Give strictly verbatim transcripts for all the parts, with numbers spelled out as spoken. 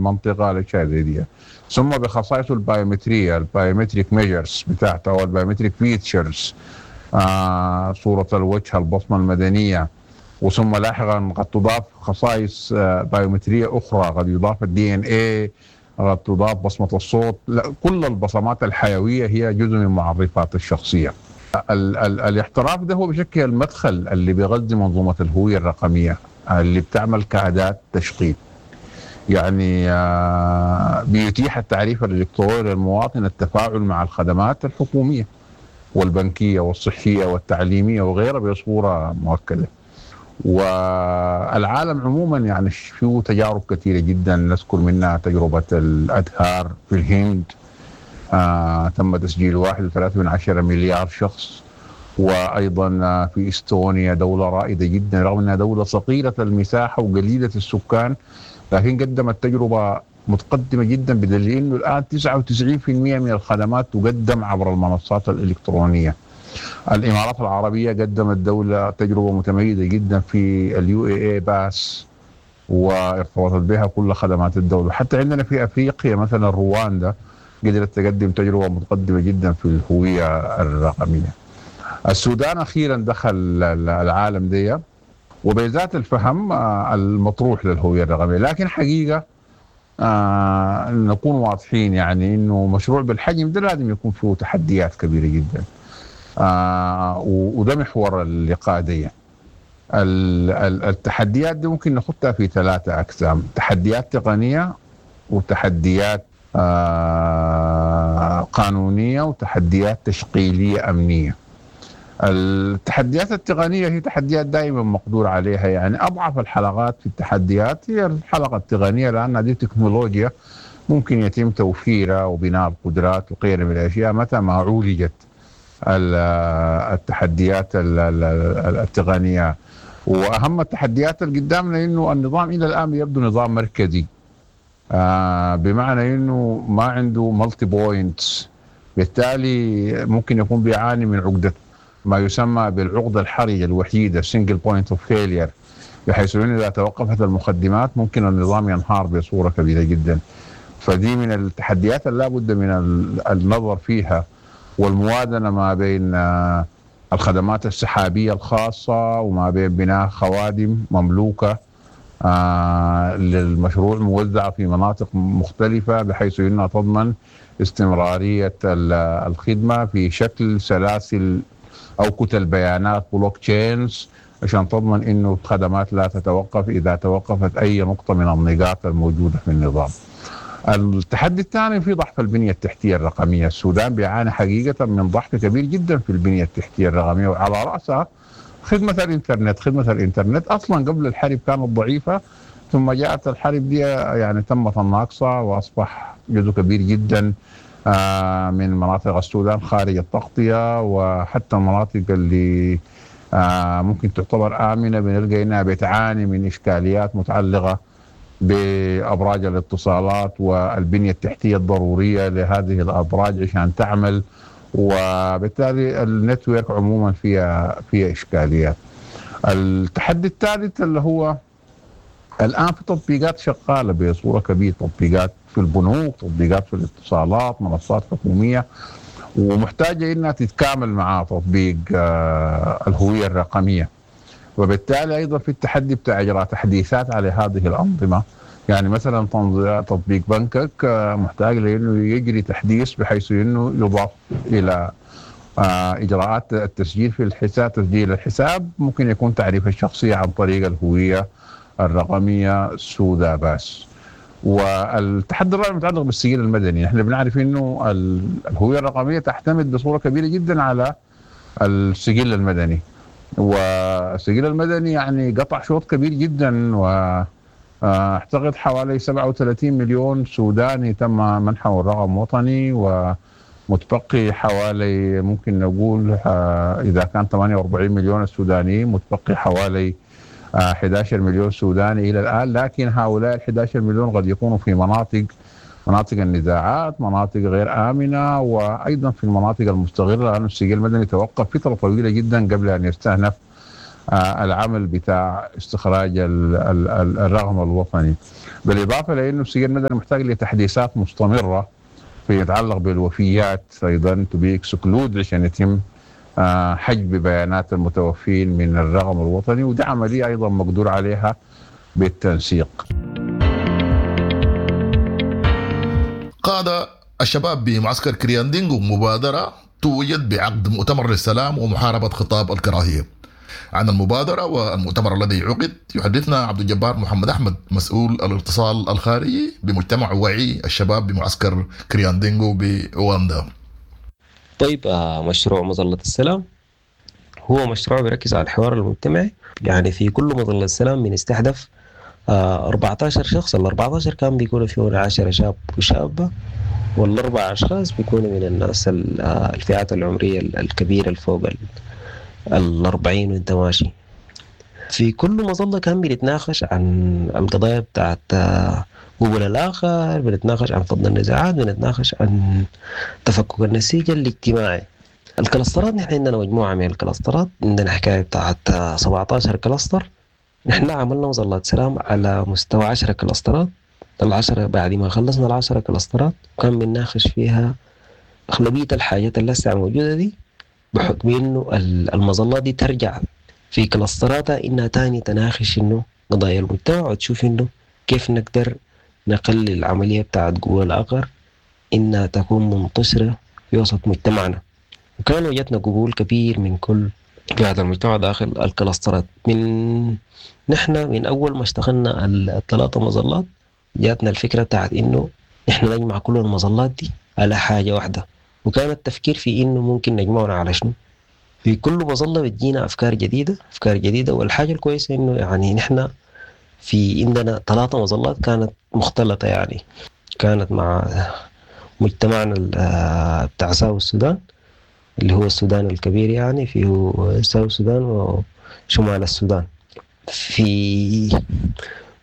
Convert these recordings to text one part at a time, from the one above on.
المنطقة، الاشياء زي دي. ثم بخصائصه البايومتريه، ال biometric measures بتاعته او ال biometric features، آه صوره الوجه، البصمة المدنيه، وثم لاحقا قد تضاف خصائص آه بايومتريه اخرى، قد يضاف ال DNA، قد تضاف بصمة الصوت. لا، كل البصمات الحيوية هي جزء من معرفات الشخصية. ال ال الاحتراف ده هو بشكل المدخل اللي بيغذي منظومة الهوية الرقمية اللي بتعمل كاداة تشغيل. يعني آه، بيتيح التعريف الالكتروني للمواطن التفاعل مع الخدمات الحكومية والبنكيه والصحية والتعليمية وغيرها بصورة مؤكدة. والعالم عموما يعني فيه تجارب كثيرة جدا، نذكر منها تجربه الادهار في الهند، آه تم تسجيل واحد وثلاثة من عشرة مليار شخص. وايضا في استونيا، دولة رائدة جدا رغم انها دولة صغيرة المساحة وقليله السكان، لكن قدمت تجربه متقدمة جدا، بدليل انه الان تسعة وتسعين في المئة من الخدمات تقدم عبر المنصات الالكترونية. الامارات العربية قدمت دولة تجربه متميزة جدا في ال UAE Pass، وارتبطت بها كل خدمات الدولة. حتى عندنا في افريقيا مثلا رواندا قدرت تقدم تجربه متقدمة جدا في الهوية الرقمية. السودان اخيرا دخل العالم دي وبذات الفهم المطروح للهوية الرقمية، لكن حقيقة آه نكون واضحين، يعني انه مشروع بالحجم ده لازم يكون فيه تحديات كبيرة جدا، آه وده محور اللقاء دي. التحديات دي ممكن نخطها في ثلاثة اقسام: تحديات تقنية، وتحديات آه قانونية، وتحديات تشغيلية امنية. التحديات التقنية هي تحديات دائما مقدور عليها، يعني اضعف الحلقات في التحديات هي الحلقة التقنية، لان دي تكنولوجيا ممكن يتم توفيرها وبناء القدرات وغيرها من الاشياء متى ما عولجت التحديات التقنية. واهم التحديات اللي قدامنا انه النظام الى الان يبدو نظام مركزي، آه بمعنى انه ما عنده multi points، بالتالي ممكن يكون بيعاني من عقده ما يسمى بالعقدة الحرجة الوحيدة، single point of failure، بحيث انه اذا توقفت المخدمات ممكن النظام ينهار بصورة كبيرة جدا. فدي من التحديات اللي لابد من النظر فيها والموازنة ما بين الخدمات السحابية الخاصة وما بين بناء خوادم مملوكة آه للمشروع موزعة في مناطق مختلفة، بحيث انها تضمن استمرارية الخدمة في شكل سلاسل او كتل بيانات block chains، عشان تضمن انه الخدمات لا تتوقف اذا توقفت اي نقطة من النقاط الموجودة في النظام. التحدي الثاني في ضعف البنية التحتية الرقمية، السودان بيعاني حقيقة من ضعف كبير جدا في البنية التحتية الرقمية، وعلى راسها خدمة الانترنت. خدمة الانترنت اصلا قبل الحرب كانت ضعيفة، ثم جاءت الحرب دي يعني تمت الناقصة، واصبح جزء كبير جدا من مناطق السودان خارج التغطية، وحتى المناطق اللي ممكن تعتبر آمنة بنلقى إنها بتعاني من إشكاليات متعلقة بأبراج الاتصالات والبنية التحتية الضرورية لهذه الأبراج عشان تعمل، وبالتالي ال network عموما فيها فيها إشكاليات. التحدي الثالث اللي هو الآن في تطبيقات شغالة بصورة كبيرة، تطبيقات في البنوك، تطبيقات في الاتصالات، منصات حكومية، ومحتاجة إنها تتكامل مع تطبيق الهوية الرقمية. وبالتالي أيضا في التحدي بتاع إجراء تحديثات على هذه الأنظمة، يعني مثلا تطبيق بنكك محتاج لأنه يجري تحديث بحيث إنه يضاف إلى إجراءات التسجيل في الحساب، تسجيل الحساب ممكن يكون تعريف الشخصية عن طريق الهوية الرقمية سودا باس. والتحدي الرابع متعلق بالسجل المدني. نحن بنعرف انه الهوية الرقمية تعتمد بصورة كبيرة جدا على السجل المدني، والسجل المدني يعني قطع شوط كبير جدا، واعتقد حوالي سبعة وثلاثين مليون سوداني تم منحه الرقم وطني، ومتبقي حوالي ممكن نقول اذا كان ثمانية وأربعين مليون السودانيين، متبقي حوالي أحد عشر مليون سوداني الى الان. لكن هؤلاء ال أحد عشر مليون قد يكونوا في مناطق مناطق النزاعات، مناطق غير امنه، وايضا في المناطق المستغله، لان السجل المدني توقف فترة طويلة جدا قبل ان يستأنف العمل بتاع استخراج الرقم الوطني. بالاضافة لانه السجل المدني محتاج لتحديثات مستمرة في يتعلق بالوفيات ايضا to be excluded عشان يتم حجب بيانات المتوفين من الرقم الوطني، ودي عملية ايضا مقدور عليها بالتنسيق. قاد الشباب بمعسكر كرياندينغو مبادرة توجت بعقد مؤتمر للسلام ومحاربة خطاب الكراهية. عن المبادرة والمؤتمر الذي عقد يحدثنا عبد الجبار محمد أحمد، مسؤول الاتصال الخارجي بمجتمع وعي الشباب بمعسكر كرياندينغو بأوغندا. طيب، مشروع مظلة السلام هو مشروع بيركز على الحوار المجتمعي. يعني في كل مظلة السلام بنستهدف أربعتاشر شخص. ال أربعتاشر كان بيكونوا فيهم عشرة شاب وشابة، والأربع أشخاص بيكونوا من الناس الفئات العمرية الكبيرة الفوق الأربعين وانت ماشي. في كل مظلة كان بنتناقش عن القضايا بتاعت قبول الآخر، بنتناقش عن فض النزاعات، بنتناقش عن تفكك النسيج الاجتماعي. الكلاسترات نحن عندنا مجموعة من الكلاسترات، عندنا حكاية بتاعت سبعتاشر cluster. نحن عملنا مظلات سلام على مستوى عشرة كلاسترات. العشرة بعد ما خلصنا العشرة كلاسترات كان بنناقش فيها أغلبية الحاجات اللي لسه موجودة دي، بحكم إنه المظلات دي ترجع في كلاستراتها إنها تاني تناقش إنه قضايا المجتمع، وتشوف إنه كيف نقدر نقلل العملية بتاعت قوة الآخر إنها تكون منتشرة في وسط مجتمعنا. وكان وجدنا قبول كبير من كل فئات المجتمع داخل الكلاسترات. من نحن من أول ما اشتغلنا الثلاثة مظلات جاتنا الفكرة بتاعت إنه نحن نجمع كل المظلات دي على حاجة واحدة، وكان التفكير في إنه ممكن نجمعنا على شنو. في كل مظلة بتجينا أفكار جديدة أفكار جديدة. والحاجة الكويسة إنه يعني نحن في عندنا ثلاثة مظلات كانت مختلطة، يعني كانت مع مجتمعنا بتاع ساو السودان اللي هو السودان الكبير، يعني فيه ساو السودان وشمال السودان. في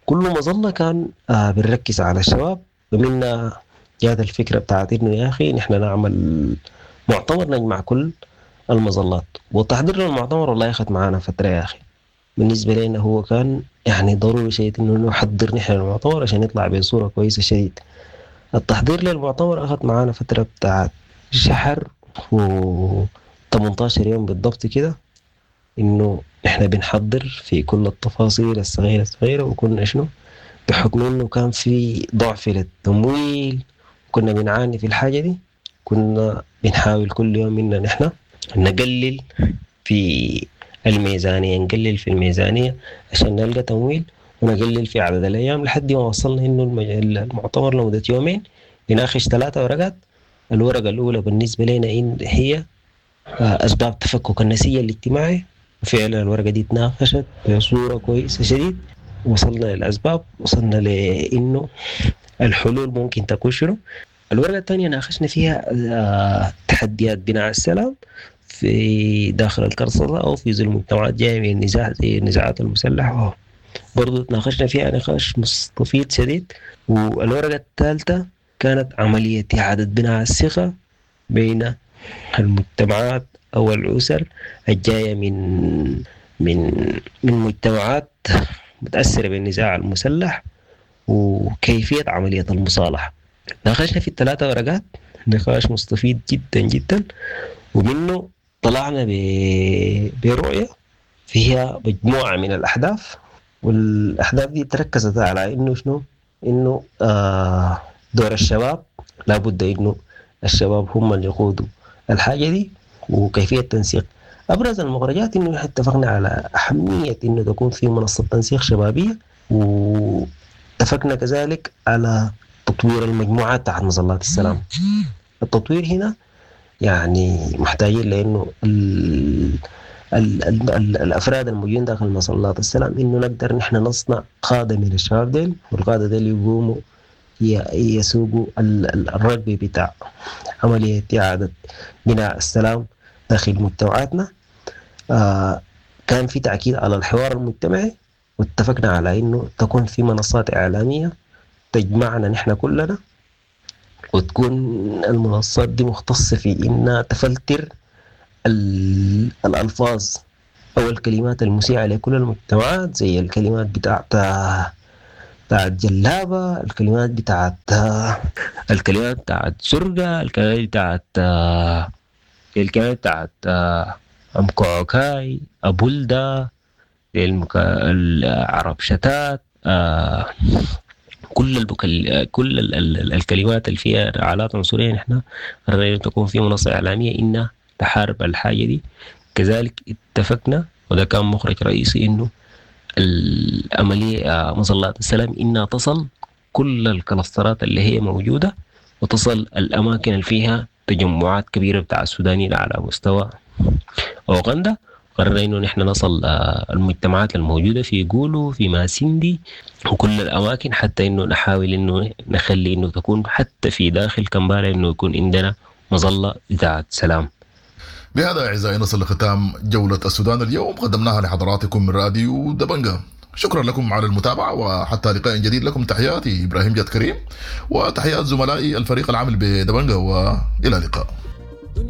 كل مظلة كان بنركز على الشباب، ومنها جات الفكرة بتاعت إنه يا أخي نحن نعمل مؤتمر نجمع كل المظلات. وتحضير للمؤتمر والله أخذ معانا فترة يا أخي. بالنسبة لنا هو كان يعني ضروري شيء إنه نحضر نحن المؤتمر عشان يطلع بصورة كويسة شديد. التحضير للمؤتمر أخذ معانا فترة بتاعت شهر و تمنتاشر يوم بالضبط كده، إنه إحنا بنحضر في كل التفاصيل الصغيرة الصغيرة. وكنا شنو بحكم إنه كان في ضعف للتمويل كنا بنعاني في الحاجة دي، كنا بنحاول كل يوم إن نحن نقلل في الميزانية نقلل في الميزانية عشان نلقى تمويل، ونقلل في عدد الأيام لحد ما وصلنا إنه المؤتمر لمدة يومين بناقش ثلاثة ورقات. الورقة الأولى بالنسبة لنا إن هي أسباب تفكك النسيج الاجتماعي، وفعلا الورقة دي تناقشت بصورة كويسة شديد، وصلنا للأسباب، وصلنا لإنه الحلول ممكن تكون شنو. الورقة الثانية ناقشنا فيها تحديات بناء السلام في داخل الكرسلة أو في ظل مجتمعات جاية من النزاع زي النزاعات المسلحة، برضو تناقشنا فيها نقاش مستفيض شديد. والورقة الثالثة كانت عملية إعادة بناء الثقة بين المجتمعات أو الأسر الجاية من من من مجتمعات متأثرة بالنزاع المسلح وكيفية عملية المصالحة. ناقشنا في الثلاثة ورقات نقاش مستفيد جدا جدا، ومنه طلعنا برؤية فيها مجموعة من الأحداث، والأحداث دي تركزت على إنه شنو؟ إنه آه دور الشباب، لابد إنه الشباب هم اللي يقودوا الحاجة دي وكيفية التنسيق. أبرز المخرجات إنه نحن اتفقنا على أهمية إنه تكون في منصة تنسيق شبابية، واتفقنا كذلك على تطوير المجموعات تحت مظلات السلام. التطوير هنا يعني محتاجين لأنه ال ال ال ال الأفراد الموجودين داخل مظلات السلام إنه نقدر نحن نصنع قادة من الشباب ديل، والقادة ديل يقوموا يسوقوا الرغبة بتاع عملية إعادة بناء السلام داخل مجتمعاتنا. آه كان في تأكيد على الحوار المجتمعي، واتفقنا على إنه تكون في منصات إعلامية تجمعنا نحن كلنا، وتكون المنصات دي مختصة في إنها تفلتر الألفاظ أو الكلمات المسيئة لكل المجتمعات زي الكلمات بتاعت بتاعت جلابة، الكلمات بتاعت الكلمات بتاعت زرقة، الكلمات بتاعت الكلمات بتاعت أم كعكاي، أبولدا، العرب شتات، كل البكل... كل ال... ال... الكلمات اللي فيها رعالات عنصرية نحن قررنا تكون في منصة إعلامية إنها تحارب الحاجة دي. كذلك اتفقنا وده كان مخرج رئيسي إنه العملية مظلات السلام إنها تصل كل الكلاسترات اللي هي موجودة وتصل الأماكن اللي فيها تجمعات كبيرة بتاع السودانيين على مستوى أوغندا. قررنا إنه نحن نصل المجتمعات الموجودة في جولو في ماسندي وكل الأماكن، حتى إنه نحاول إنه نخلي إنه تكون حتى في داخل كمبالا إنه يكون عندنا مظلة بتاعت سلام. بهذا أعزائي نصل لختام جولة السودان اليوم، قدمناها لحضراتكم من راديو دبنجا. شكرا لكم على المتابعة، وحتى لقاء جديد لكم تحياتي إبراهيم جاد كريم وتحيات زملائي الفريق العامل بدبنجا، وإلى اللقاء.